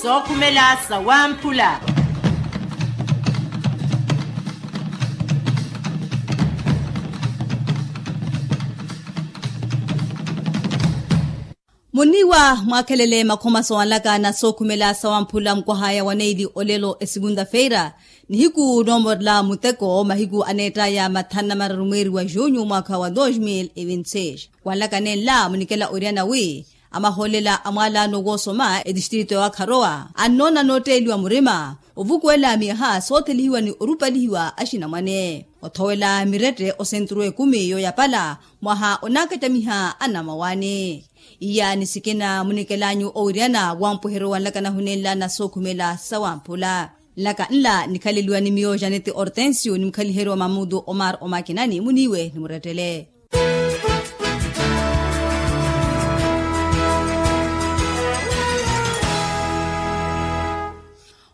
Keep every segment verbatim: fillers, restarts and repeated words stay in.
Sookhumela sawamphula. Muniiwa mwaakhelele makhomaso anlaka na sookhumela sawamphula mukwahaya wa neili olelo esikunda feira, nihiku noomorela muteko mahiku aneettaya mathanu na mararu mweeri wa junyu mwaakha wa dos mil e vinti seis. Wanlaka nenla munikela oriyana wi amahoolela a mwaalaano woosoma etistritu ya wakharowa annoona nootteeliwa murima ovukuwela miyaha soothelihiwa ni orupalihiwa axinamwane othowela mirette osenturu ekumi yooyapala mwaha onaakacamiha anamawani. Iya ni sikina munikelanyu owiriyana wampweheryo wanlaka nahunenla na sookhumela sawamphula. Nlaka nla nikhaleliwa ni miyo janeti ortensio ni mukhaliheryo mamudu omar omakinani muniiwe ni murettele.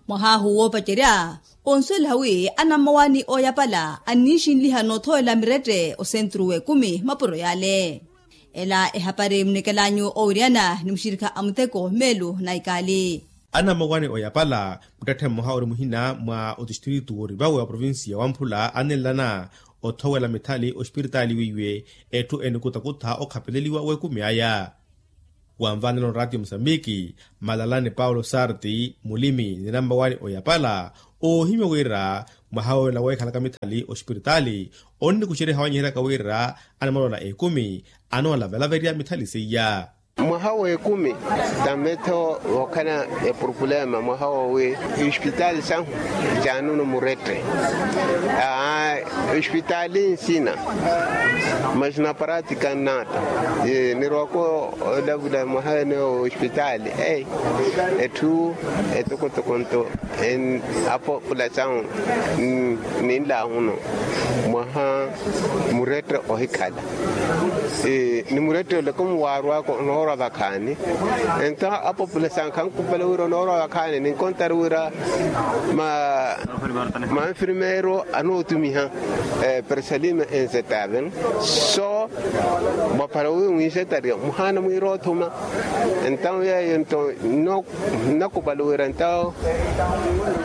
Mwahaahu woopacerya onsuweliha wi anammawaani ooyapala anniixinliha noothowela mirette osenturu w'ekumi mapuro yaale. Ela ehapari munikelanyu owiriyana ni muxirikha a muteko meelu na ikaali. Anammawaani ooyapala muttetthe mmoha ori muhina mwa otistritu w'orivawe wa provincia ya wamphula anenlana othowela mithali ospiritaali weiwe etthu enikutakutha okhapeleliwa w'ekumi aya. Wanvanela onraatiyo musambiki malalani paulo sarti mulimi ni nammawaani oyapala oohimya wira mwaha woolela weekhalaka mithali ospiritaali onnikuxerya hawanyiheryaka wira anamalola ekumi anoolavelaveriya mithali seiya. Mwaha w'ekumi tammetho wookhala epurupulema mwaha woowi ospitali sahu jaanunu murette. Aa ospitali nsina mas na pratika nnata. Nirwako olavula mwaha ene ospitali ei etthu etokotoko nto. Apopulasawu ninlahuno mwaha murette ohikhala ni murette ole komuwaarwaka onoorwa vakhaani. Ento apopulasawu khankupale wira onoorwa vakhaani ninkontari wira manfirmeero anootumiha persalime enzetaven so mwaphara wi mwiisetariya muhaana mwiira othuma. Entawu yeeyo nto nnakupali wira entawu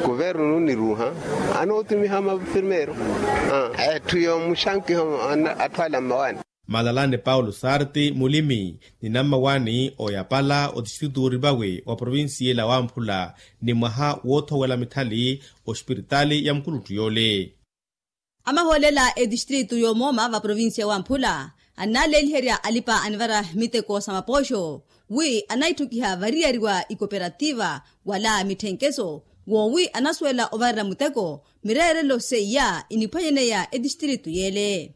kuvernu nniruuha anootumiha mafirmeero etthu yoomuxankiha atthu ala mmawaani. Malalani paulo sarti mulimi ni nammawaani oyapala otistritu worivawe wa provincia ela wamphula ni mwaha woothowela mithali ospiritaali ya mukuluttu yoole. Amahoolela etistritu y'omooma va provincia wamphula annaleeliherya alipa anivara miteko sa mapooxo wi anaithokiha variyari wa ikoperativa wala mitthenkeso woowi anasuwela ovarela muteko mireerelo seiya iniphwanyaneya etistritu yeele.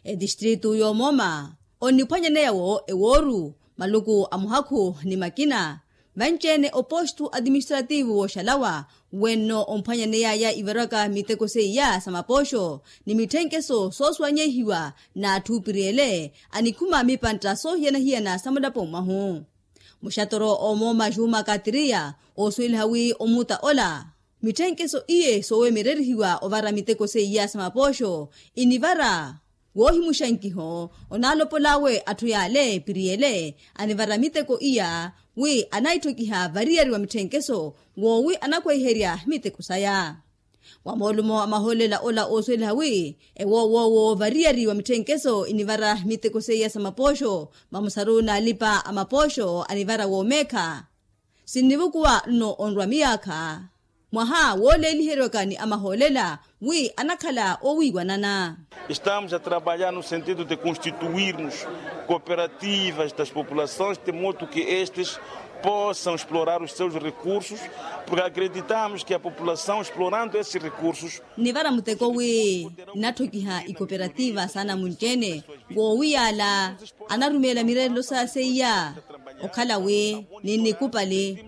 Etistritu y'omooma onniphwanyaneya wo ewooru maluku a muhakhu ni makina vanci-ene opostu atiministrativu wooxalawa wenno omphwanyaneyaya ivarwaka miteko seiya sa mapooxo ni mitthenkeso soosuwanyeihiwa n'atthu opiriyele anikhuma mipantta soohiyana-hiyana sa mulapo mwahu. Muxatoro omooma juma katiriya oosuweliha wi omuta ola mitthenkeso iye soowemererihiwa ovara miteko seiya sa mapooxo inivara woohimuxankiho onaalopol'awe atthu yaale piriyele anivara miteko iya wi anaithokiha variyari wa mitthenkeso woowi anakwehiherya miteko saya. Wa moolumo a mahoolela ola oosuweliha wi ewoowoowo variyari wa mitthenkeso inivara miteko seiya sa mapooxo mamusaru n'alipa a mapooxo anivara woomeekha sinnivukuwa nno onrwa miyaakha mwaha wooleeliheriwaka ni amahoolela wi anakhala oowiiwanana. Estamos a trabalhar no sentido de constituirmos cooperativas das populações de modo que estes possam explorar os seus recursos porque acreditamos que a população explorando esses recursos. Nnivara muteko wi nnatthokiha ikoperativa s'anamunci-ene woowi yaala anarumeela mireerelo saya seiya okhala wi ninnikupali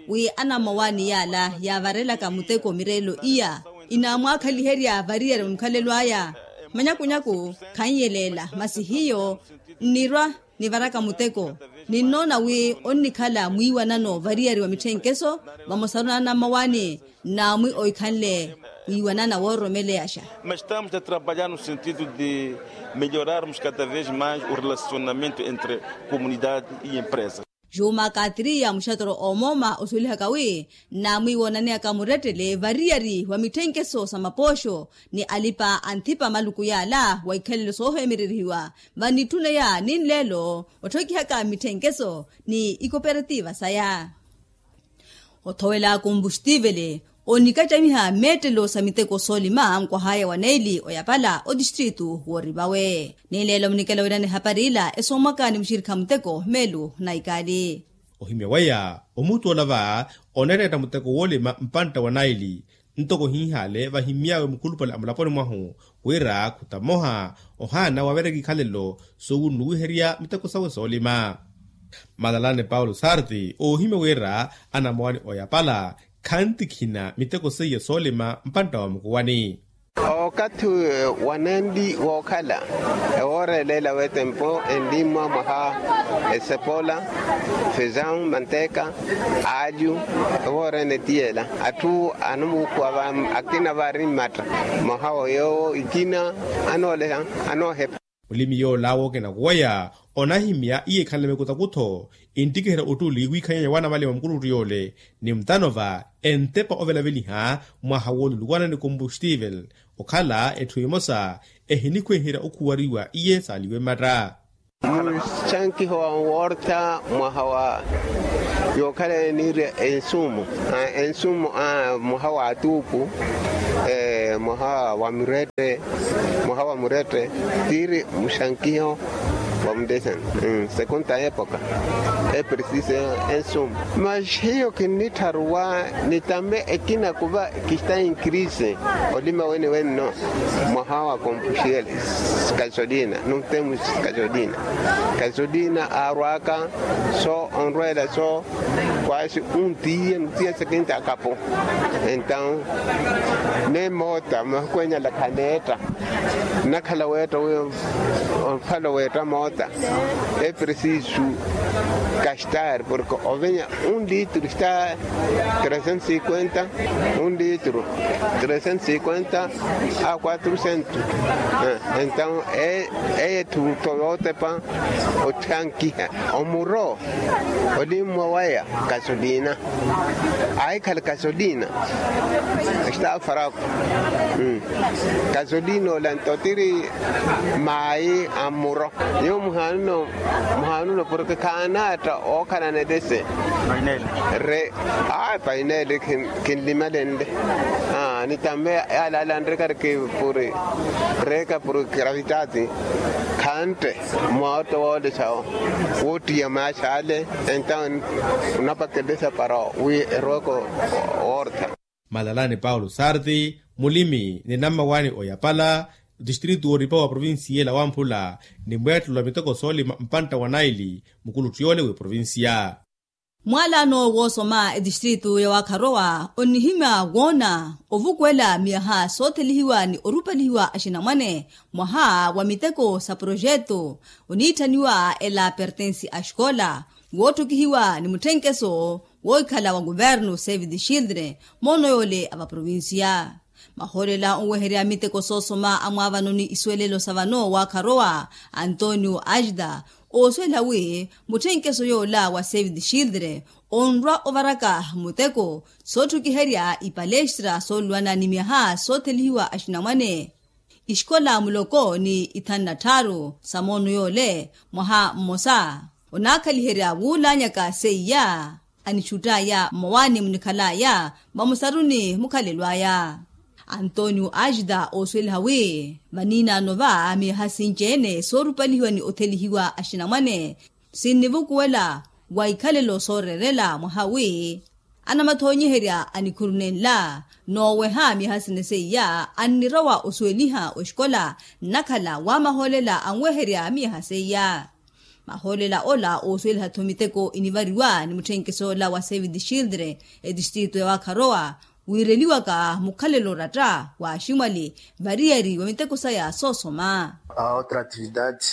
wi anammawaani yaala yaavarelaka muteko mireerelo iya inaamwaakhaliherya variyari wa mukhalelo aya. Manyakunyaku khanyelela masi hiyo nnirwa nivaraka muteko ninnoona wi onnikhala mwiiwanano variyari wa mitthenkeso vamosaru n'anammawaani nnaamwi oikhanle wiiwanana wooromeleyasha. Mas estamos a trabalhar no sentido de melhorarmos cada vez mais o relacionamento entre comunidade e empresa. Juuma kaatiriya muxatoro oomooma osuwelihaka wi nnaamwiiwa onaneyaka murettele variyari wa mitthenkeso sa mapooxo ni alipa anthipa maluku yaala wa ikhalelo sooheemererihiwa vanitthuneya ninleelo otthokihaka mitthenkeso ni ikoperativa saya. Othowela kombuxtivele onikattamiha meettelo sa miteko soolima nkwahaya wa neili oyapala otistritu woorivawe. Ninleelo munikela wirana ehapari ila esoomwaka ni muxirikha muteko meelu naikaali. Ohimya weya omuttoola va oneettetta muteko woolima mpantta wa naili ntoko ohinhaale vahimy'awe mukhulupale a mulaponi mwahu wira khutamoha ohaana waveryaka ikhalelo sowunnuwiherya miteko sawe soolima. Malalani paulo sarti oohimya wira anamowani oyapala khantikhina miteko seiya soolima mpantta wa mukuwani. Okathi wanenli wookhala ewoora eleela wetempo enlimmwa mwaha esepola fezawu manteka alyu ewoora ene tiyela atthu anomuukhuwa akina vaari mmatta mwaha wa yoowo ikina anooleha anoohepa. Mulimi yoola wookina kuweya onahimya iye ekhanle mikutakutho enttikiherya ottuli wiikhanyeya waanamalima mukuluttu yoole ni mutano va entepa ovelaveliha mwaha wooluluwana ni kombustivel okhala etthu emosa ehinikhweherya okhuwariwa iye saaliwe mmatta. Muxankiho wa worta mwaha wa yookhala eniirya ensumu ensumu mwaha wa atuupu mwaha wa mirette mwaha wa mirette tiiri muxankiho wa mudesene sekunta epoka epresise ensumu. Mas hiyo kinnittharuwa nitame ekina kuva kista inkrise olima wene wenno mwaha wa kompuxiel kasolina nutemu kasolina kasolina aarwaka so onrwela so kwasi untiye nutiye sekinta akapo entaw ne moota mahuku enyala khaneetta nnakhala weetta wi onfala weetta moota epresisu kastar porke ovenya un litro está tresentos cinquenta un litro tresentos cinquenta a quatrocentos entaw eye etthu tho yootepa otthankiha omuro olimmwa waya kasolina ahikhala kasolina está fraco kasolina ola nto tiri maayi a mmuro nyuwo muhanuno muhanuno porke khaanaatta ookhalana etese re a painele kinlimalenle nitame yaalaala nrekari ki puri reeka puri gravidade khantte mwawotta woolesha woottiya maaxaale entaw onapakelesha para wi eroweke woortha. Malalani paulo sarti mulimi ni nammawani oyapala distritu wooripa wa provincia ela wamphula ni mweettelo wa miteko soolima mpantta wa naili mukuluttu yoole w'eprovincia. Mwaalano woosoma etistritu ya wakharowa onnihimya woona ovukuwela miyaha soothelihiwa ni orupalihiwa axinamwane mwaha wa miteko sa projeto oniitthaniwa ela pertensi a xikola wootthukihiwa ni mutthenkeso wookhala wa kuvernu save the children moono yoole a vaprovincia. Mahoolela onweherya miteko soosoma a mwaavano ni isuwelelo sa vano waakharowa antonio ajda oosuwela wi mutthenkeso yoola wa save the children onrwa ovaraka muteko sootthukiherya ipalestra sooluwana ni myaha soothelihiwa axinamwane ixikola muloko ni ithanu na tthaaru sa moono yoole mwaha mmosa onaakhaliherya wuulaanyaka seiya anixutt'aya mmawaani munikhal'aya vamusaruni mukhalelo aya. Antonio ajda oosuweliha wi vaniinaano va miyaha sinci-ene soorupalihiwa ni othelihiwa axinamwane sinnivukuwela wa ikhalelo sooreerela mwaha wi anamathoonyiherya a nikhuru nenla nooweha miyaha sene seiya annirowa osuweliha oxikola nnakhala wa mahoolela anweherya miyaha seiya. Mahoolela ola oosuweliha-tho miteko inivariwa ni mutthenkeso ola wa save the children etistritu ya wakharowa wiireliwaka mukhalelo oratta wa aximwali variyari wa miteko saya soosoma. A outra atividade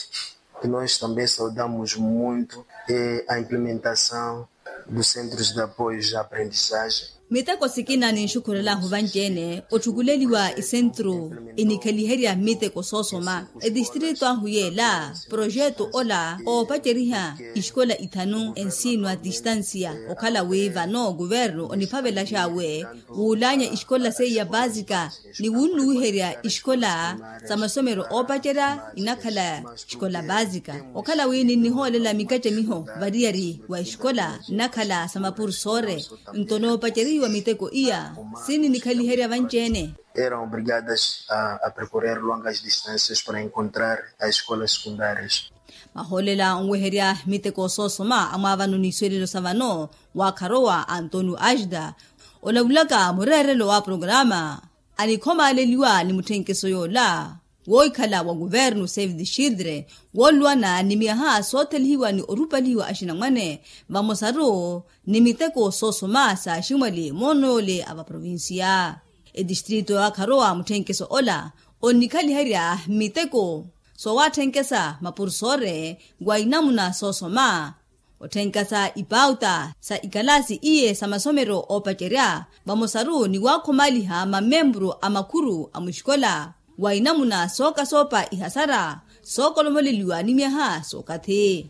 que nós também saudamos muito é a implementação dos centros de apoio de aprendizagem. Miteko sikina ninxukhurel'ahu vanci-ene otthukuleliwa isentru inikheliherya miteko soosoma. Etistrito ahu yeela projeto ola oopaceriha isikola ithanu ensino a tistansia okhala wi vano kuvernu oniphavelax'awe wuulaanya isikola seiya paasika ni wunnuwiherya isikola sa masomero oopacerya inakhala isikola paasika. Okhala wi ninnihoolela mikattamiho variyari wa isikola nnakhala sa mapursore nto noopaceriwa miteko iya sininikhaliherya vanci-ene. Eram obrigadas a percorrer longas distâncias para encontrar as escolas secundárias. Mahoolela onweherya miteko soosoma amwaavano n'iswelelo sa vano waakharowa antonio ajda olavulaka mureerelo wa programa anikhomaaleliwa ni mutthenkeso yoola woohikhala wa kuvernu save the children wooluwana ni myaha soothelihiwa ni orupalihiwa axinamwane vamosaru ni miteko soosoma sa aximwali moono yoole a vaprovincia. Etistrito yaakharowa mutthenkeso ola onnikhaliherya miteko soowatthenkhesa mapursore wa inamuna soosoma otthenkhasa ipauta sa ikalaasi iye sa masomero oopacerya vamosaru ni waakhomaliha mamemburu a makhuru a muxikola wa inamuna sookasoopa ihasara sookolomoleliwa ni myaha sookathi.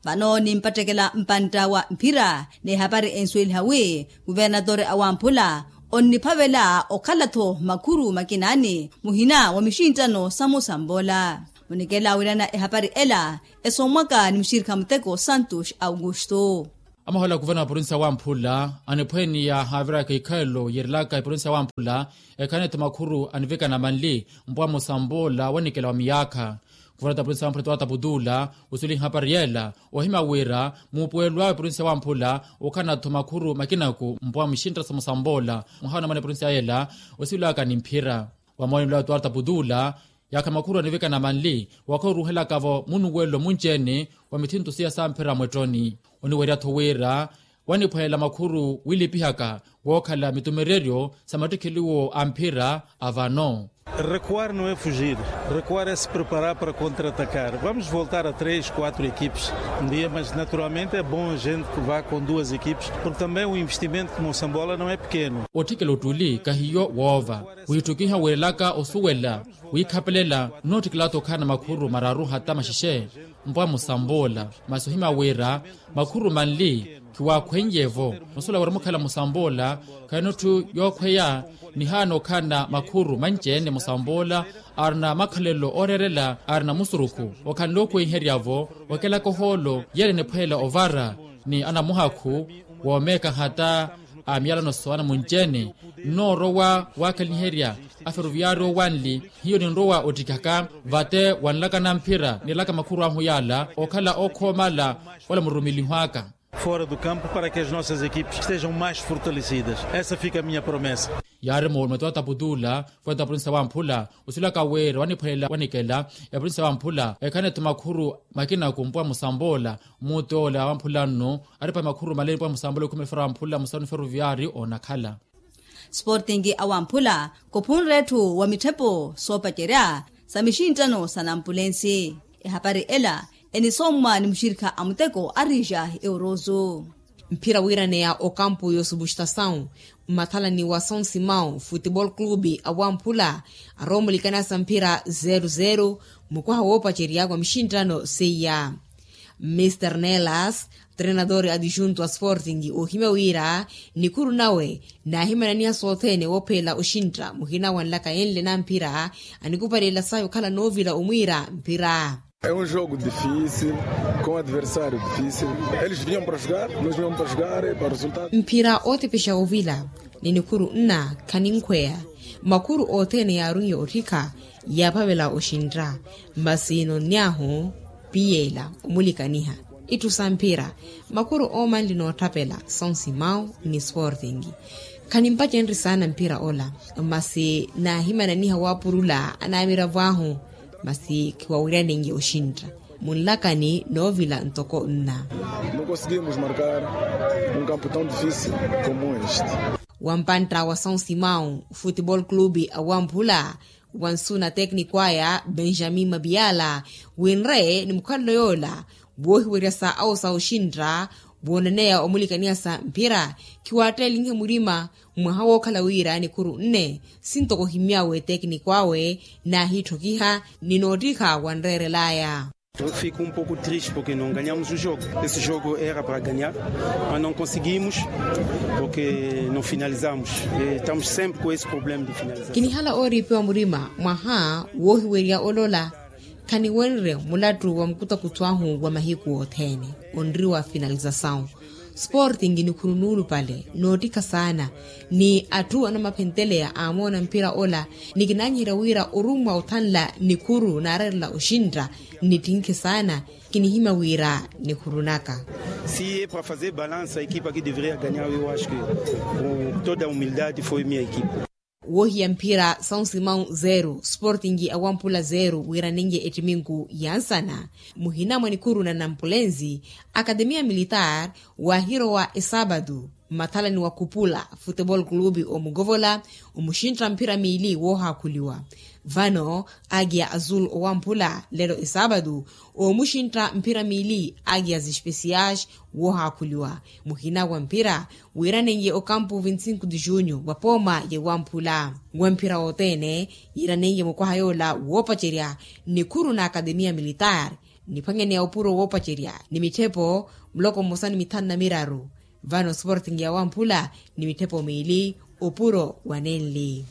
Vano nimpattekela mpantta wa mphira n'ehapari ensuweliha wi kuvernatore awamphula onniphavela okhala-tho makhuru makinaani muhina wa mixinttano sa musamboola. Munikela wirana ehapari ela esommwaka ni muxirikha muteko santos augusto. Amahola kuvana wa provincia wamphula aniphweniya haaviraka ikhalelo yeerelaka iprovincia wamphula ekhanetho makhuru anivikana manli mpwa musamboola wanikela wa miyaakha. Kuvanata provincia wamphula twaataputula usuli hapari yeela ohimya wira muupuwelo awe provincia wamphula okhanatho makhuru makinaku mpwa muxintta sa musamboola mwaha onamana provincia yeela osivilaka ni mphira. Wa moonelo awe twaataputula yaakha makhuru anivikana manli wakhoruuhelaka-vo munuwelo munci-ene wa mithinto siya samphira mwettoni. Oniwerya-tho wira waniphwelela makhuru wilipihaka wookhala mitumereryo sa mattikheliwo a mphira a vano. Recuar não é fugir. Recuar é se preparar para contra-atacar. Vamos voltar a três, quatro equipes um dia, mas naturalmente é bom a gente que vá com duas equipes, porque também o investimento como sambola não é pequeno. Otthikela ottuli kahiyo woova wiitthukiha wiirelaka osuwela wiikhapelela nnootthikela-tho okhala makhuru mararu hata maxexe mpwa musamboola. Masi ohimya wira makhuru manli khiwaakhweiye-vo nosuwela wira mukhala musamboola khayinotthu yookhweya nihaana okhala makhuru manci-ene musamboola arina makhalelo ooreerela arina musurukhu okhanle okhweiherya-vo okelaka ohoolo yeela eniphwelela ovara ni anamuhakhu woomeeka hata a miyalano sowana munci-ene. Nnoorowa waakhaliherya aferoviyari owanli hiyo ninrowa ottikaka vate wanlakana mphira nilaka makhuru ahu yaala okhala ookhoomala ola murumiliho aka fora do campo para que as nossas equipes estejam mais fortalecidas. Essa fica a minha promessa. Yaari moolume twaataputula fweta provincia wamphula osilaka wira waniphwelela wanikela eprovincia wamphula ekhanetho makhuru makinaku mpwa musamboola. Mutoola wamphula nnu aripa makhuru maleni mpwa musamboola okhumela fera wamphula musanu feruviyari onakhala. Sporting awamphula khuphunre etthu wa mitthepo soopacerya sa mixinttano sa nampulensi. Ehapari ela enisommwa ni muxirikha a muteko a rija euroso. Mphira wiiraneya okampu y'osubustasawu mmathalani wa sonsimawu futebol clube awamphula aroomulikana sa mphira zero zero mukwaha woopacerya wa mixinttano seiya. Mr nelas trenador adjunto a sporting oohimya wira nikhuru nawe naahimananiha sothene woophelela oxintta muhina wanlaka enle na mphira anikupalela sahi okhala noovila omwiira mphira. É um jogo difícil, com adversário difícil. Eles vinham para jogar, nós vinhamos para jogar e para resultado. Mphira ootepexa ovila ni nikhuru nna khaninkhweya. Makhuru othene yaarunye otthikha yaaphavela oxintta masi nonny'ahu piyeela omulikaniha itthu sa mphira. Makhuru oomanli nootthapela sonsimawu ni sporting. Khanimpacenrye saana mphira ola masi naahimananiha waapurula anaamiravo ahu masi khiwawiryanenye oxintta munlakani noovila ntoko nna. Não conseguimos marcar um campo tão difícil como este. Wampantta wa sonsimawu futebol clube awamphula wansu na tekniko aya benjamin mabiala winre ni mukhalelo yoola woohiweryasa awo sa oxintta. Wooneneya omulikaniya sa mphira, khiwaattelinhe murima. Mwaha wookhala wira nikhuru nne, sintoko ohimyawe tekiniko awe, naahiitthokiha ni noottikha wanreerelaya. Fiku mpoko triste porke no ganhamus o jogo. Esse jogo era para ganhar, mas no conseguimos porke no finalizamos. Estamos sempre com esse problema de finalização. Kinihala ooriipiwa murima mwaha woohiwerya olola. Khaniwenrye mulattu wa mukutakuthu ahu wa mahiku othene, onriwa finalizasawu. Sporting nikhuru nuulupale noottikha saana, ni atthu anamaphenteleya aamoona mphira ola, ni kinaanyiherya wira orummwa othanla nikhuru naareerela oxintta. Nittinkhe saana, kinihimya wira nikhuru naka. Si e para fazer balansa ekipa ki deveria ganhar eu acho ki, toda a humildade foi minha ekipa. Woohiya mphira são simão zero sporting awamphula zero wiiranenye ettiminku ya nsana. Muhina mwa nikhuru na nampulenzi, akademiya militar, waahirowa esaabatu mmathalani wa khupula, futebol clube omukovola, omuxintta mphira miili woohaakhuliwa. Vano, agiya azul owamphula lelo esaabatu, oomuxintta mphira miili agiya zespesiyax, woohaakhuliwa. Muhina wa mphira wiiranenye okampu vinti sinku de junyu wa pooma yewamphula. Wa mphira wothene yiiranenye mukwaha yoola woopacerya, nikhuru na akademiya militar, niphwanyaneya opuro woopacerya ni mitthepo muloko mmosa ni mithanu na miraru. Vano sporting yawamphula ni mitthepo miili opuro wa nenli.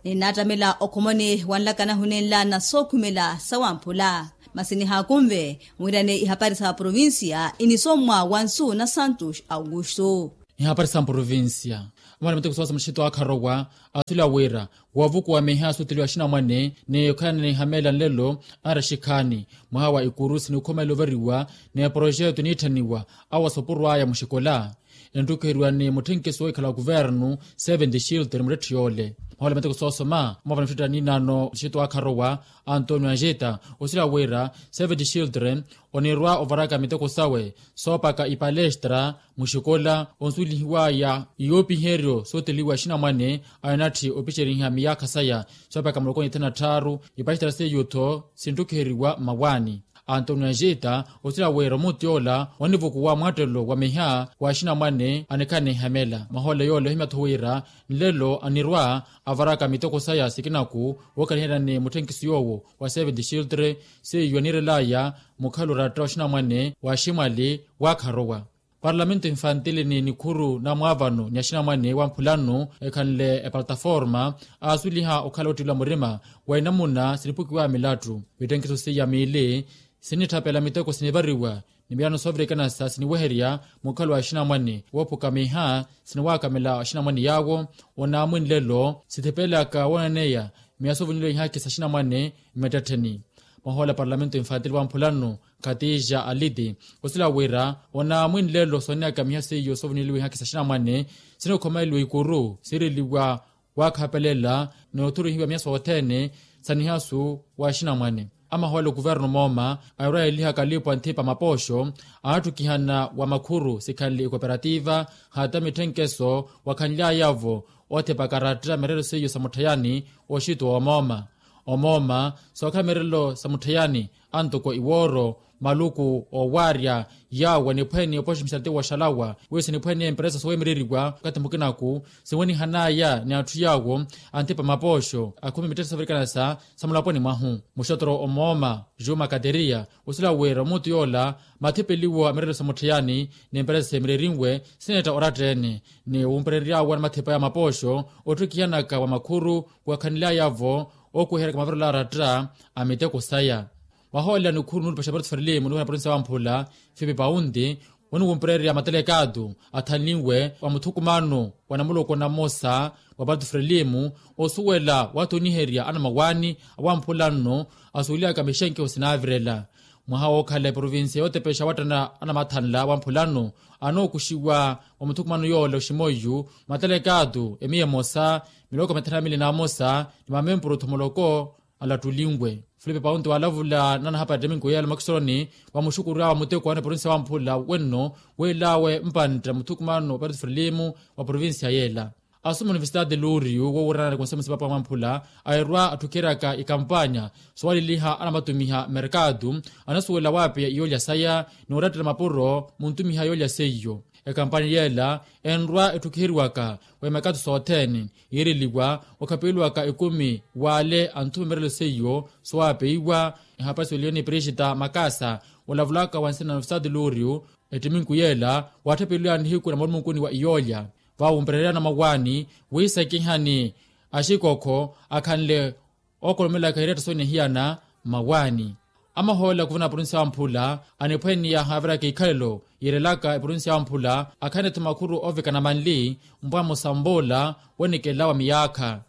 Ninattamela okhomoni wanlakana hunenla na sookhumela sawamphula. Masi nihaakunve mwirane ihapari sa provincia inisommwa wa nsu na santos augusto. Ihapari sa provincia. Amwari miteko soosa muxito akharowa, asula wira woovukuwa miha sooteliwa axinamwane ni okhalana ni ihamela nlelo, anraxikhaani mwaha wa ikurusi ni okhomela ovariwa ni proxeto niitthaniwa awa sopuru aya muxikola. Enttukheriwa ni mutthenkiso woohikhala wa kuvernu, seventi xilter muttetthe yoole. Mwahoole miteko soosoma mwaavana mixettela niinaano muxito akharowa, antonio anjeta osila wira, seventi xilter onirwa ovaraka miteko sawe soopaka ipalestra muxikola onsuwelihiwaya iyoopiheryo sooteliwa axinamwane. Anatthi opiceriha miyaakha saya soopaka muloko ni thanu na tthaaru. Ipalestra seiyo-tho sinttukhiheriwa mmawaani. Antonio anjeta osila wira omuti yoola onivukuwa mwattelo wa miha wa axinamwane anikhala ni ihamela mwahoole yoola ohimya-tho wira nlelo anirwa avaraka miteko saya sikinaku wookaniherya ni mutthenkiso yoowo wa seventi xilter. Seiyo anirelaya mukhalo oratta wa axinamwane wa aximwali waakharowa. Parlamento infantile ni nikhuru na mwaavano ni axinamwane wamphulano ekhanle epalataforma aasuliha okhala ottiliwa murima wa inamuna sinipukiwa milattu. Mitthenkiso seiya miili sinitthapela miteko sinivariwa ni miyano soovirikanasa siniweherya mukhalo wa axinamwane woophuka miha siniwaakamela axinamwane yaawo. Onaamwi nlelo sithipelaka woonaneya miya soovuniliwa ihaakhi sa axinamwane mmettettheni. Mwahoole a parlamento infantile wamphulano khatija aliti osila wira onaamwi nlelo sooneyaka miha seiyo soovuniliwa ihaakhi sa axinamwane sinikhomeleliwa ikuru siireliwa waakhapelela ni othuruhiwa miya sothene sa nihasu wa axinamwane. Amahoole okuvernu mooma airwa yeelihaka alipo anthipa mapooxo anaatthukihana wa makhuru sikhanle ikoperativa hata mitthenkeso wakhanlyayavo othipaka aratta mirerelo seiyo sa mutthayani oxito wa omooma. Omooma sookhala mirerelo sa mutthayani antoko iwooro maluku oowaarya yaawo aniphwene opooxa mixati wooxalawa wiyo siniphwene emperesa sowemereriwa okathi mukinaku sinwenihanaya ni atthu yaawo anthipa mapooxo akhumi mittetthe soovirikanasa sa mulaponi mwahu. Muxotoro omooma juma kateriya osila wira omuti yoola mathipeliwo a mirerelo sa mutthayani ni emperesa seemererinwe sineetta oratta-ene ni wumpereryaawo ni mathipa ya mapooxo otthukihanaka wa makhuru wakhanlyayavo ookuhiheryaka mavirelo aratta a miteko saya. Mwahoolera nikhuru nuulupa xaparti frelimu nuuhena provinsi ya wamphula fipi paunti woniwumpererya matelekaatu athanlinwe wa muthukumano wa namuloko namosa wa parti frelimu osuwela waatoniherya anamawaani awamphula nno asuweliyaka mixenkeho sinaavirela. Mwaha wookhala eprovinsiya yootepexa awatthana anamathanla wamphulano anookuxiwa wa muthukumano yoola oximoiyu matelekaatu emiya emosa miloko mithanu na mili n'amosa ni mamempuru thomoloko alattulinwe. Filipe paunti waalavula nanahapari tteminku yeela mwakisoroni wa muxukury'awe wa muteko wa neprovinsiya wamphula wenno weel'awe mpantta muthukumano wa parti frilimu wa provinsiya yeela. Asoma universitati luuriyu wowirana ni konsemusi papa mwamphula, airwa atthukheryaka ikampanya sowaliliha anamatumiha merkatu, anasuwela waapeya iyoolya saya ni orattela mapuro muntumiha yoolya seiyo. Ekampanya yeela enrwa etthukhiheriwaka wa imerkatu sothene, yiireliwa okhapeliwaka ekumi w'ale anthumemerelo seiyo sowaapeiwa. Ehapari siweliwe ni prigita makasa olavulaka wa nsina na universitati luuriyu, ettiminku yeela waatthapeliwaya nihiku na mulumenkuni wa iyoolya, vawumpereryana mawaani wiisakihani axikokho akhanle ookolomelaka ireetta sooneihiyana. Mawaani amahoolela kuvuna provinsiya wamphula aniphwaniya haaviraka ikhalelo yiirelaka eprovinsiya wamphula akhanle-tho makhuru oovekana manli mpwaha musamboola wenikela wa miyaakha.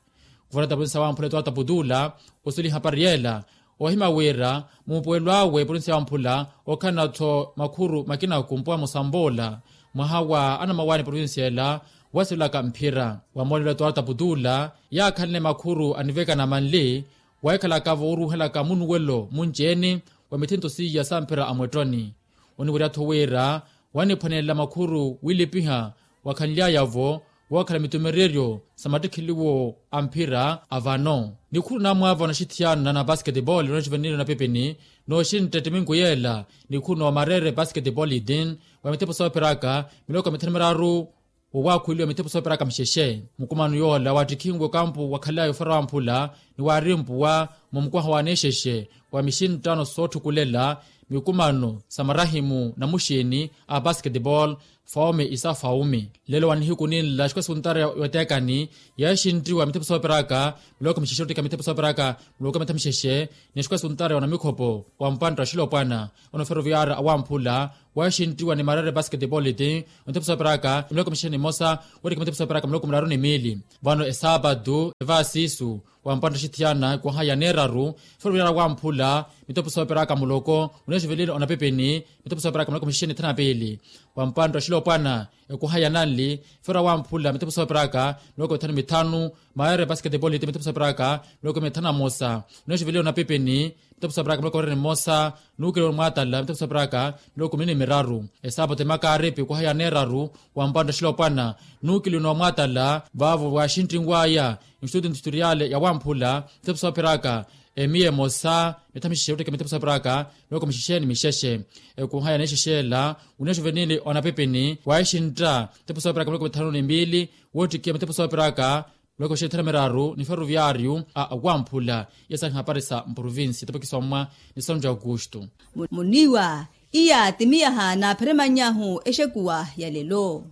Kuvarata provinsiya wamphula etwarta putula osuli hapari yeela ohima wira muupuwelo awe provinsiya wamphula okhanla-tho makhuru makinaku mpwaha musamboola mwaha wa anamawaani provinsiya ela wasivelaka mphira. Wa moolelo etwarta putula yaakhanle makhuru anivekana manli wahikhalaka vooruuhelaka munuwelo munci-ene wa mithinto siiya sa mphira a mwettoni. Oniwerya-tho wira waniphwanelela makhuru wilipiha wakhanly'aya-vo wookhala mitumereryo sa mattikheliwo a mphira a vano. Nikhuru namwaava wa naxithiyana na basketball na juvenile na pepeni nooxintta ettiminku yeela nikhuru noomarere basketball itin wa mithepo soopheraka miloko mithanu miraru wowaakhuweliwa mithepo soopheraka mixexe. Mukumano yoola waattikhinwe okampu wakhalaya ofera wamphula ni waarimpuwa mumukwaha wa anexexe wa mixinttano sootthukulela mikumano sa marahimu na muxiini a basketball faume isa faume. Lelo wa nihiku ninla xikosi kuntara yoteekani yeexinttiwa mithepo soopheraka miloko mixexe ottika mithepo soopheraka miloko mitha mixexe ni xikosi kuntara yona mikhopo wa mpantta oxilopwana ono feroviyaari awamphula weexinttiwa ni marere basketball ti mithepo soopheraka miloko mixexe ni mmosa wettika mithepo soopheraka miloko miraru ni miili. Vano esaapatu evaasiisu wa mpantta oxithiyana ekuhaya neeraru feroviyaari awamphula mithepo soopheraka muloko uneexivelile onapepeni mithepo soopheraka miloko mixexe ni thanu na piili. Wa mpantta oxilopwana ekuhaya nanli feroviyaari awamphula mithepo soopheraka miloko mithanu mithanu maere basketball ti mithepo soopheraka miloko mithanu na mmosa uneexivelile onapepeni mithepo soopheraka miloko miraru ni mmosa nuukeliwe ni omwatala mithepo soopheraka miloko mini ni miraru. Esaapatu emakaaripi ekuhaya neeraru wa mpantta oxilopwana nuukeliwe ni omwatala vaavo waaxinttinwaya instituto industriale ya wamphula mithepo soopheraka emiya emosa mitha mixexe ottika mithepo soopheraka miloko mixexe ni mixexe. Ekuhaya neexexela uneexivenile onapepeni waaxintta mithepo soopheraka miloko mithanu ni miili woottikiya mithepo soopheraka miloko mixexe ni thanu na miraru ni feroviyaariyu a wamphula. Iya saahi hapari sa mprovinsi tapakiso ammwa ni santu ya aukustu. Muniiwa iya timiyaha naapheremany'ahu exekuwa ya lelo.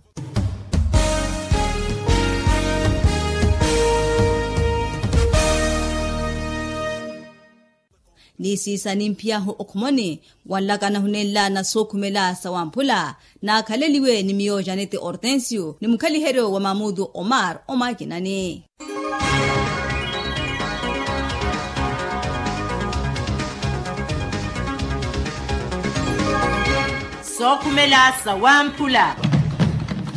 Ni siisa nimphiyahu okhomoni wanlakana hunenla na sookhumela sa wamphula naakhaleliwe ni miyo janete hortensio ni mukhaliheryo wa mamutu omar omwakinani. Sookhumela sa wamphula.